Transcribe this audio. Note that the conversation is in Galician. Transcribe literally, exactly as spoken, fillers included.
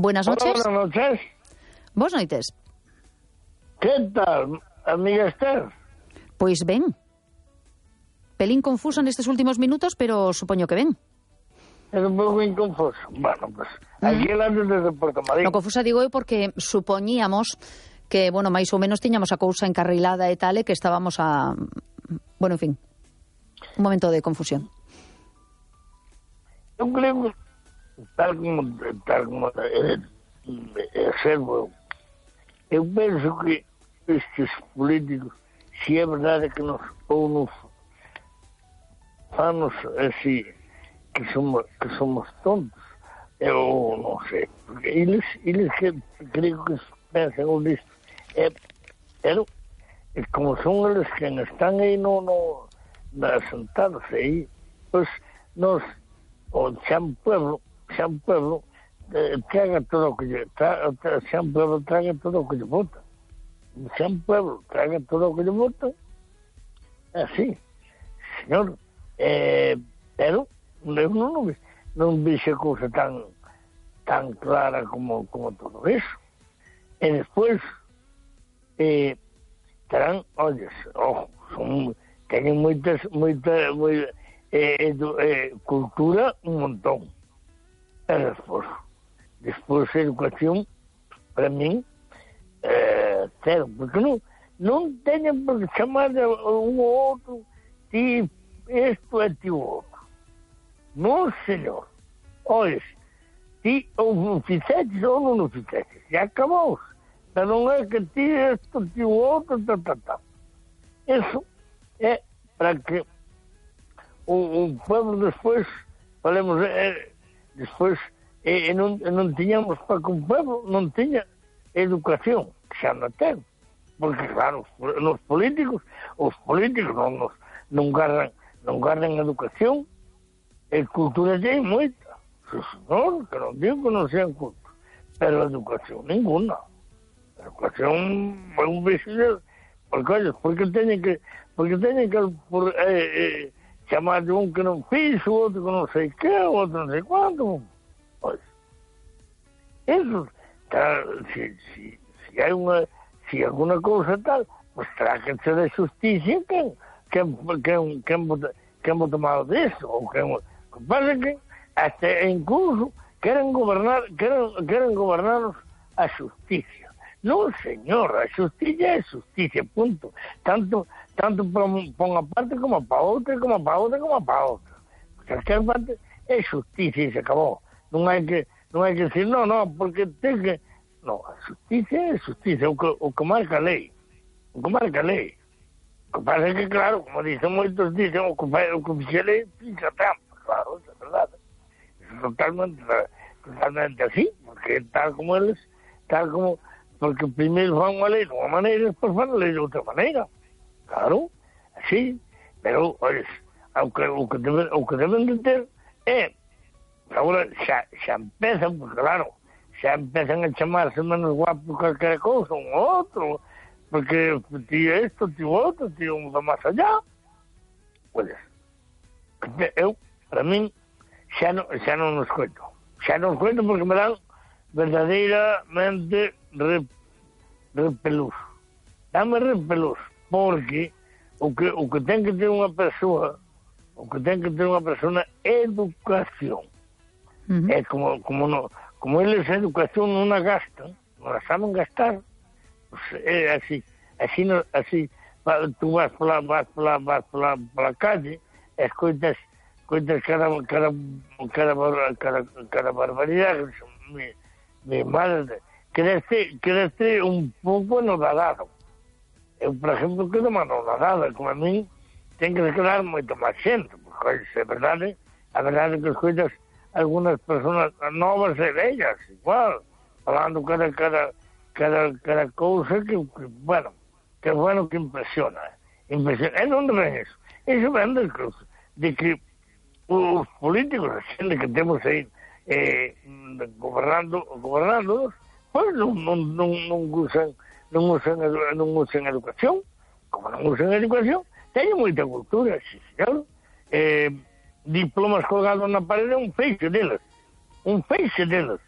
Buenas noches. Hola, buenas noches. Boas noites. Que tal, amiga Esther? Pois ben. Pelín confusa nestes últimos minutos, pero supoño que ben. É un pouco inconfuso. Bueno, pues, aquí mm. antes desde Porto Marín. No confusa digo eu porque supoñíamos que, bueno, máis ou menos tiñamos a cousa encarrilada e tal, e que estábamos a... Bueno, en fin, un momento de confusión. Eu creo que, tal como, tal como é, é servo, eu penso que estes políticos, se é verdade que nos, ou nos fanos así, que somos, que somos tontos, eu non sei, porque eles, eles que, creo que pensan nisto, é, pero, é como son eles que están aí no, no, sentados aí, pois, nos, o Xan Pueblo, Xan Pueblo, eh, traga todo o que lle, tra, tra, Xan Pueblo traga todo o que lle vota, Xan Pueblo traga todo o que lle vota, é así, señor, eh, pero, eu non, non, non vexe cousa tan tan clara como, como todo eso. E despois eh, terán, olles, ojo, son, teñen moitas, moita, moita eh, edu, eh, cultura un montón. E despois, despois a educación, para min, eh, cero, porque non, non teñen por que chamar a un ou outro, ti isto é ti o outro. Non, señor. Ois, ti ou fixetes ou non o fixetes. E acabou. Pero non é que ti isto, ti o outro, ta, ta, ta. Eso é para que o, o pueblo despois, falemos, é, despois, e, e non, e non tiñamos para que o pueblo non tiña educación, que xa non ten. Porque, claro, os políticos, os políticos non, non, non garran, non garran educación. E cultura ten moita, senhor, que non digo que non sean cultos, pero a educación ninguna. A educación é un vexillo, porque, olha, porque teñen que, porque teñen que por, eh, eh, chamar de un que non fixo, outro que non sei que, outro non sei quanto. Pois, eso, tá, se, se, se hai unha, se alguna cousa tal, pois tráquense de justicia quen, quen, quen, quen, quen vou tomar disso, ou quen... O que pasa é que hasta incluso queren gobernar, queren, queren gobernarnos a justicia. Non, señor, a justicia é justicia, punto. Tanto tanto para unha parte como para outra, como para outra, como para outra. Porque a parte é justicia e se acabou. Non hai que, non hai que decir, non, non, porque ten que... Non, a justicia é justicia, o que, o que marca a lei. O que marca a lei. O que pasa é que, claro, como dicen moitos, dicen, o que, o que fixe a lei, fixa trampa. Claro, é verdade. É totalmente, totalmente así, porque tal como eles, tal como, porque primeiro fan unha lei de unha maneira e despois fan a lei de outra maneira. Claro, así. Pero, olha, o que, o que, deben, o que deben de ter é, agora xa, xa empezan, porque claro, xa empezan a chamarse menos guapos que calquera cousa, un outro, porque ti isto, ti outro, ti un va máis allá. Olha, eu, para min, xa non, xa non nos coito. Xa non nos coito porque me dan verdadeiramente rep, repelús. Dame repelús, porque o que, o que ten que ter unha persoa, o que ten que ter unha persona é educación. Uh-huh. É como, como, no, como eles a educación non a gastan, non a saben gastar, pues é así, así, no, así, tú vas pola, vas pola, vas pola, pola calle, e escoitas Cuentas cada, cada, cada, cada, cada barbaridade, mi, mi madre, crece, crece un pouco anodadado. Eu, por exemplo, quedo anodadada, como a mí, ten que quedar moito máis xente, porque, é verdade, a verdade que escoitas algunas personas novas e vellas, igual, falando cada, cada, cada, cada cousa que, que, bueno, que bueno que impresiona. Impresiona. E non ven eso. Eso ven de que, de que os políticos, a xente que temos aí eh, gobernando, gobernando, pois non, non, non, non usan non usan, non usan educación, como non usan educación, teñen moita cultura, sí, señor. Eh, diplomas colgados na parede, un feixe deles, un feixe deles.